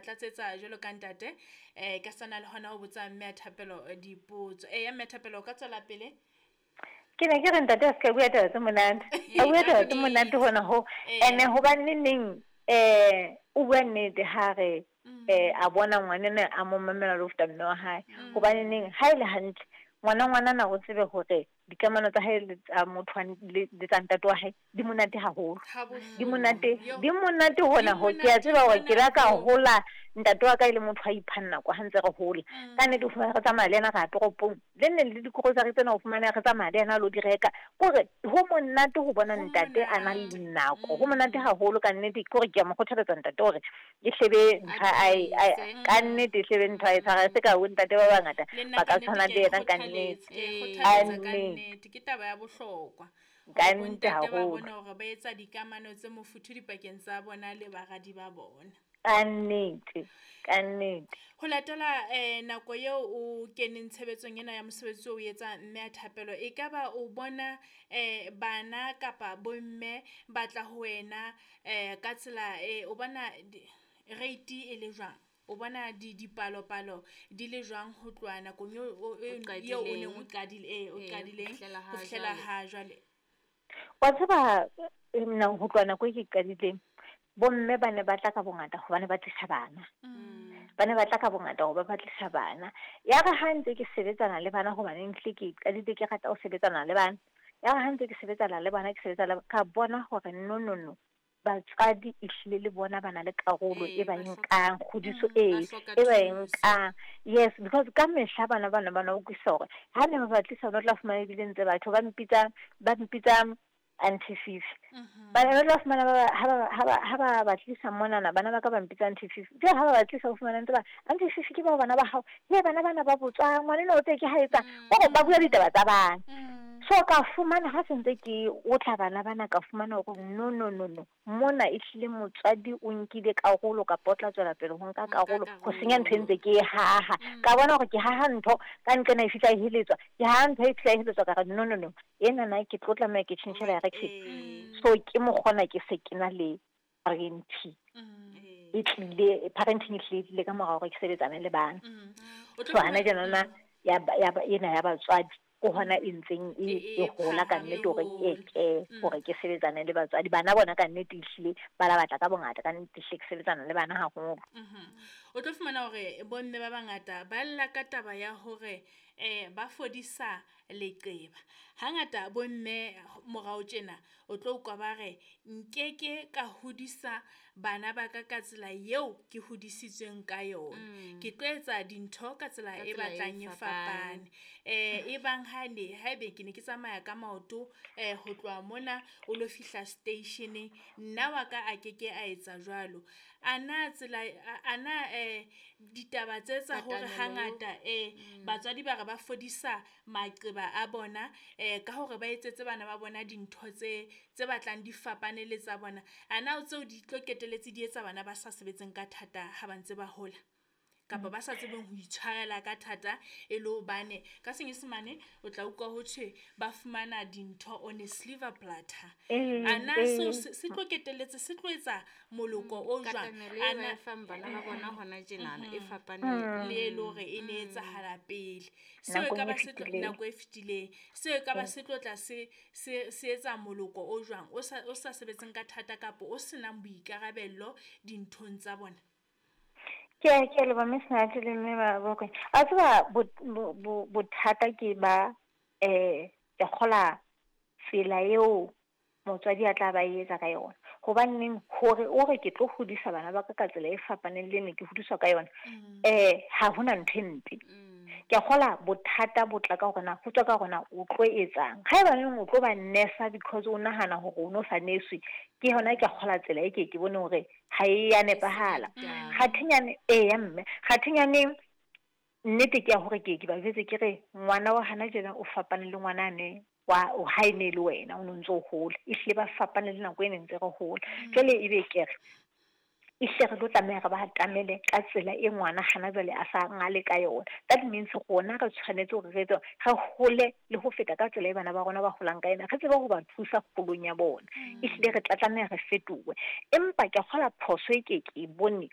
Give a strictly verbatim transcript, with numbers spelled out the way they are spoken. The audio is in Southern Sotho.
ba tlatsetsa jwalo ka ntate eh ka sana le hona ho botsa mme a Thapelo dipotso. Eh ya mme Thapelo o ka tswela pele. Ke ne ke re ntate a ska bua taba tse monate. A bua taba tse monate hona ho. Ene hobane neng eh o bua nnete ha re eh a bona ngwanene a mo mamela le ho feta mme wa hae. Hobane neng ha ile hantle ngwana ngwana na o tsebe hore dikamano tsa hae le tsa motho le tsa ntate wa hae di monate haholo. Di monate, di monate hona ho ke a tseba hore ke la ka hola ntate wa ka ile motho a ipha nako ha ntse re hola. Ka nnete o fumana re tsamaya le yena re ya toropong. Le nne le dikorosari tsena o fumana re tsamaya le yena lo di reka. Kore ho monate ho bona ntate a na le nako. Ho monate haholo ka nnete ke hore ke a mo kgothaletsa ntate hore e hlebe ntho ai ka nnete e hlebe ntho ai tshwara se ka ho ntate ba bangata ba ka tshwana le yena ka nnete. Nnete ke taba ya bohlokwa. Ka nnete haholo. Ba bona hore ba etsa dikamano tse mofuthu dipakeng tsa bona le baradi ba bona. Ka nnete, ka nnete. Ho latela eh nako eo o keneng tshebetsong ena ya mosebetsi o etsa mme a Thapelo, e ka ba o bona eh bana kapa bomme ba tla ho wena eh ka tsela e o bona rate e le jwang? O bona di dipalopalo di le jwang ho tloha nakong eo eo o neng o qadile eh o qadileng ho fihlela ha jwale? Wa tseba nna ho tloha nako e ke qadileng bomme ba ne ba tla ka bongata hobane ba tlisa bana. Ba ne ba tla ka bongata hoba ba tlisa bana. Ya re ha ntse ke sebetsana le bana hobane ntle ke qadile ke rata ho sebetsana le bana. Ya re ha ntse ke sebetsana le bana ke sebetsa le ka bona hore no no no batswadi ehlile le bona ba na le karolo e ba nkang kgodiso e e ba nkang. Yes, because ka mehla bana bana bana o utlwisisa hore ha ne ba ba tlisa ba tla fumana ebile ntse batho ba mpitsa ba mpitsa Auntie Fifi. Bana ba tla fumana ba ha ba ha ba ba tlisa monana bana ba ka ba mpitsa Auntie Fifi. Jwale ha ba ba tlisa ho fumana ntse ba Auntie Fifi ke ba bana ba hao. He bana bana ba botswa ngwana eno o tse ke ha etsa o ba bua ditaba tsa bana. So ka fumana ha sentse ke o tla bana bana ka fumana hore no no no no mona ehlile motswadi o nkile karolo kapa o tla tswela pele ho nka karolo ho senya ntho e ntse ke e haha. Ka bona hore ke haha ntho ka nqena e fihla e heletswa ke haha ntho e fihla e heletswa ka re no no no ena na ke tlo tlameha ke tjhentjhe direction. So ke mokgona ke se ke na le parenting e tlile parenting e tlile ka morao hore ke sebetsane le bana. So hana jana ya ya ena ya batswadi ko hona e ntseng e hola ka nnete hore ke ke hore ke sebetsane le batswadi bana bona ka nnete ehlile ba la batla ka bongata ka nnete ehlile ke sebetsana le bana haholo. O tlo fumana hore bomme ba bangata ba lla ka taba ya hore eh ba fodisa leqeba. Hangata bomme morao tjena o tlo utlwa ba re nkeke ka hodisa bana ba ka ka tsela eo ke hodisitsweng ka yona. Ke tlo etsa dintho ka tsela e batlang e fapane. Eh e bang ha ne haebe ke ne ke tsamaya ka maoto eh ho tloha mona o lo fihla station nna wa ka a keke a etsa jwalo. Ana tsela ana eh ditaba tse tsa hore hangata eh batswadi ba re ba fodisa maqeba a bona eh ka hore ba etsetse bana ba bona dintho tse tse batlang di fapane le tsa bona. Ana o tseo di tlo keteletse di etsa bana ba sa sebetseng ka thata ha ba ntse ba hola kapa ba sa tsebeng ho itshwarela ka thata e le hobane ka Senyesemane o tla utlwa ho thwe ba fumana dintho on a silver platter. Ana seo se tlo keteletse se tlo etsa moloko o jwang ana fang bana ba bona hona tjenana e fapane le e le hore e ne etsahala pele. Seo e ka ba se tlo nako e fetileng seo e ka ba se tlo tla se se se etsa moloko o jwang o sa o sa sebetseng ka thata kapa o senang boikarabello dinthong tsa bona. Ke ke le ba mesnatse le mme ba bokwe. A tseba bothata ke ba eh ke kgola tsela eo motswadi a tla ba etsa ka yona. Hobaneng hore o re ke tlo hodisa bana ba ka ka tsela e fapaneng le ne ke hodiswa ka yona. Eh ha hona ntho e mpe. Ke kgola bothata bo tla ka hore na ho tswa ka hore na o tlo etsang. Haeba neng o tlo ba nesa because o nahana hore o no sa neswe ke hona ke kgola tsela e ke ke bone hore ha e ya nepahala. Kgathinyane e ya mme kgathinyane nnete ke ya hore ke ke ba jwetse ke re ngwana wa hana jena o fapane le ngwana ne wa o ha e ne le wena o ntse o hola ehlile ba fapane le nako e ne ntse re hola. Jwale ebe ke re ehlile re tlo tlameha re ba atamele ka tsela e ngwana hana jwale a sa ngale ka yona. That means rona re tshwanetse hore re etse re hole le ho feta ka tsela e bana ba rona ba holang ka yona, re tsebe ho ba thusa kgolong ya bona. Ehlile re tla tlameha re fetohe. Empa ke kgola phoso e ke ke bone